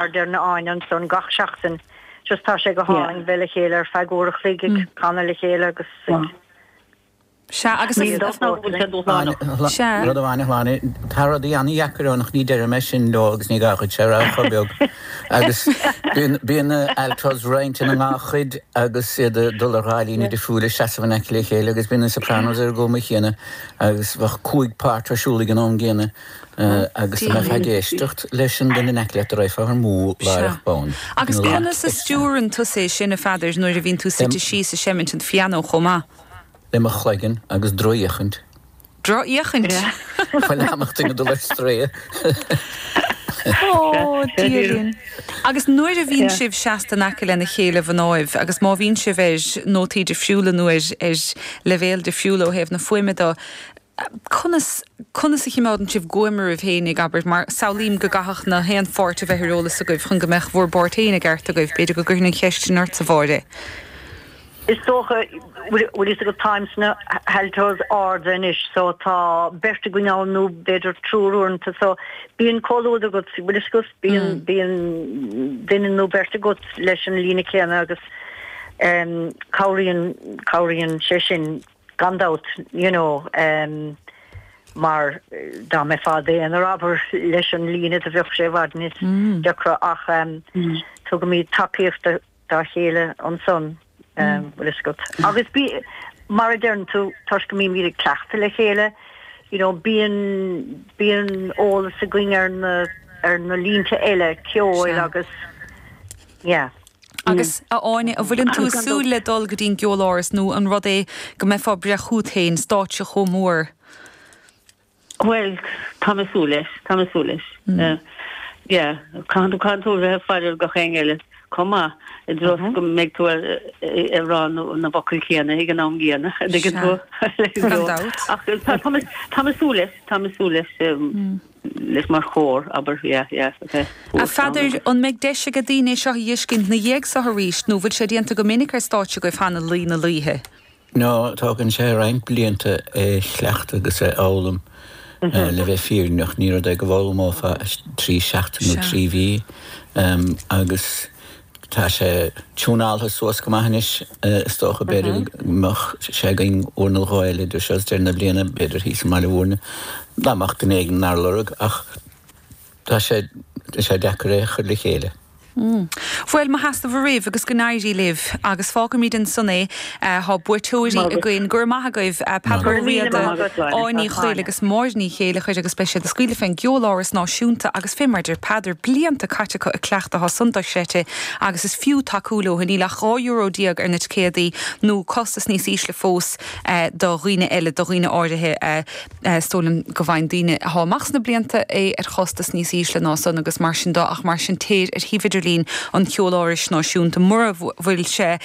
Mar a deir Áine ansan gach seachtain just tá sé go hálainn bheith le chéile ar feadh uair a chloig ag canadh le chéile agus ag Sea, agus Níl dabht ná go bhfuil sé dúshlánach. Sea. Rud amháin a Shláine, tá rudaí an-dheacair ann ach ní deirim é sin leo agus ní gá dhuit é a rá chomh beag. Agus bíonn na altos roinnte ina ndá chuid agus iad ag dul ar dhá líne difriúil ag seasamh in aice le chéile agus bíonn na sopranos ar an gcuma chéanna agus bheadh cúig páirt ar siúl ag an am gcéanna. Agus dá mbeifeá ag éisteacht leis an duine in aice leat, raghfá amú láithreach bonn. Agus conas a stiúrann tusa é sin, a Pheadair, nuair a bhíonn tú suite síos ag seimint an phianó chomh maith? Le mo chloigeann agus drochfhéachaint. Drochfhéachaint? Chuile am duine dul ar strae. Ó, Dia linn. Agus nuair a bhíonn sibh seasta in aice lena chéile, a mhnáibh, agus má bhíonn sibh ar nótaí difriúla nó ar leibhéal difriúla ó thaobh na fuaime de, Conas, conas a chimeádann sibh guaim oraibh féinig, abair, mar samhlaím go gcaithfeadh na haon pháirt a bheith ar eolas agaibh chun go mbeadh bhur bpáirt féin i gceart agaibh. B'fhéidir go gcuirfinn an cheist sin ortsa, Mháire. Is dócha, bhfuil fhios agat, táim sna haltos arda anois so tá beirt againn ann nó b'fhéidir triúr uaireanta so bíonn comhluadar agat, bhfuil fhios agat, bíonn, bíonn duine nó beirt agat leis an líne céanna agus cabhraíonn, cabhraíonn sé sin. Gan dabht, you know, mar dá mbeifeá i d'aonar, abair, leis an líne do bheadh sé i bhfad níos deacra ach tugaimid tacaíocht dá chéile ansan, bhfuil fhios agat. Agus bí, mar a deireann tú, toisc go mbímid ag cleachtadh le chéile, you know, bíonn, bíonn eolas againn ar na, ar na línte eile ceoil agus, yeah. Agus, a Áine, an bhfuileann tú ag súil le dul go dtí an gCeoláras nó an rud é go mbeifeá ag breith chút féin, stáitse chomh mór? Bhuel, tá mé ag súil leis, tá mé ag súil leis. Yeah, caithfidh tú, caithfidh tú a bheith ag faire ar gach éinne eile chomh maith, i dtreo is go mbeidh tú ag rá na bhfocal céanna ag an am gcéanna, an dtuigeann tú? Gan dabht. Ach tá mé, tá mé ag súil leis, tá mé ag súil leis. leis mar chór, abair, yeah, yeah, okay. A Pheadair, an mbeidh deis age daoine é seo a dh'fheiscint 'na dhiaidh so arís, nó bhfuil sé déanta go minic ar stáitse agaibh cheana, Laoi na Laoithe? No, tógann sé roinnt blianta é a chleachtadh agus é a fhoghlaim, le bheith fírinneach. Ní rud é go bhfoghlaimeofá i dtrí seachtain nó trí mhí. Agus Tá sé tiúnáltha suas go maith anois, is dócha. B'fhéidir go mbeadh sé againn uair nó dhó eile idir seo is deireadh na bliana, b'fhéidir thíos i mBaile Mhúirne, dá mbeadh duine éigin inár lorg, ach tá sé, tá sé deacair é a chur le chéile. Bhuel, mo sheasamh oraibh agus go n-éirí libh. Agus fágfaimid ansan é. Tá buaiteoirí againn. Go raibh maith agaibh, Peadar Ó Riada, Áine Ní Chuill agus Máire Ní Chéileachair agus beidh siad ag scaoileadh fén gCeoláras Náisiúnta agus fé mar a deir Peadar, blianta caite acu ag cleachtadh, tá san dochreidte agus is fiú tacú leo. Níl ach €12 euro ar na ticéadaí nó costas níos ísle fós do dhaoine eile, do dhaoine áirithe. Is dóigh liom go bhfaigheann daoine atá amach sna blianta é ar chostas níos ísle ná san agus mar sin de ach mar sin téir ar shuíomh idirlín an Cheolárais Náisiúnta mura bhfuil sé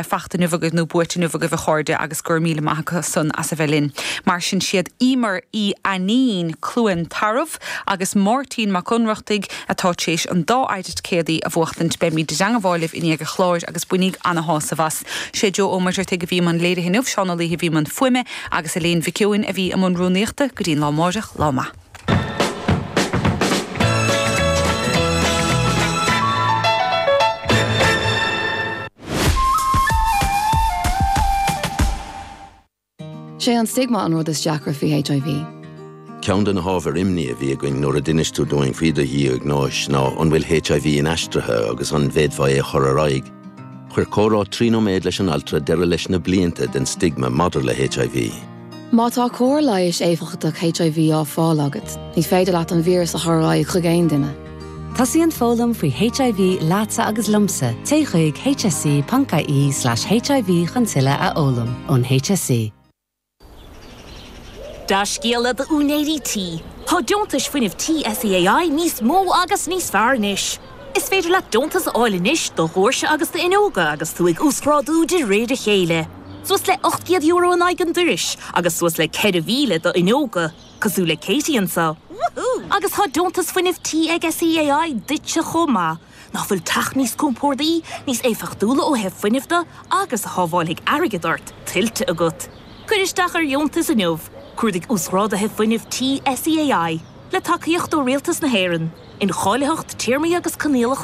fachta inniu agaibh nó buaite inniu agaibh a chairde agus go raibh míle maith acu san as a bheith linn. Mar sin siad Emer Uí Ainnín, Cluain Tarbh, agus Máirtín Mac Ionnrachtaigh atá tar éis an dá fheidhm ticéadaí a bhuachtaint. Beimid i dteangabháil libh i ndiaidh an chláir agus bainíg ana-shásamh as. Sé Joe Ó Muircheartaigh a bhí i mbun léirithe inniu, Seán Ó Laoithe a bhí i mbun fuaime, Agus Elaine Mhic Eoin a bhí i mbun rúnaíochta go dtí an lá amáireach, lá maith. Sé an stigma an rud is deacra faoi HIV. Ceann de na hábhair imní a bhí againn nuair a d'inis tú dúinn faoi do dhiagnóis ná an bhfuil HIV inaistrithe agus an bhféadfá é a chur ar aghaidh. Chuir comhrá 3 nóiméad leis an altra deireadh leis na blianta den stigma maidir le HIV. Má tá cóir leighis éifeachtach HIV á fáil agat, ní féidir leat an víreas a chur ar aghaidh chuig aon duine. Tosaíonn foghlaim faoi HIV leatsa agus liomsa, téigh chuig hse.ie/hiv chun tuilleadh a fhoghlaim ón HSE. Dea-scéala d'úinéirí tí, tá deontais fuinnimh tí SEAI níos mó agus níos fearr anois. Is féidir leat deontas a fháil anois do dhoirse agus d'fhuinneoga agus tú ag uasghrádú de réir a chéile. Suas le €800 in aghaidh an dorais agus suas le 4,000 d'fhuinneoga, cosúil le Katie anseo. Agus tá deontas fuinnimh tí ag SEAI duitse chomh maith. Nach bhfuil teach níos compordaí, níos éifeachtúla ó thaobh fuinnimh de agus a shábháilfidh airgead ort, tuillte agat? Cuir isteach ar dheontas inniu! Cuardaigh Uasghráduithe Fuinnimh Tí SEAI, le tacaíocht ó Rialtas na hÉireann. Incháilitheacht, téarmaí agus coinníollacha.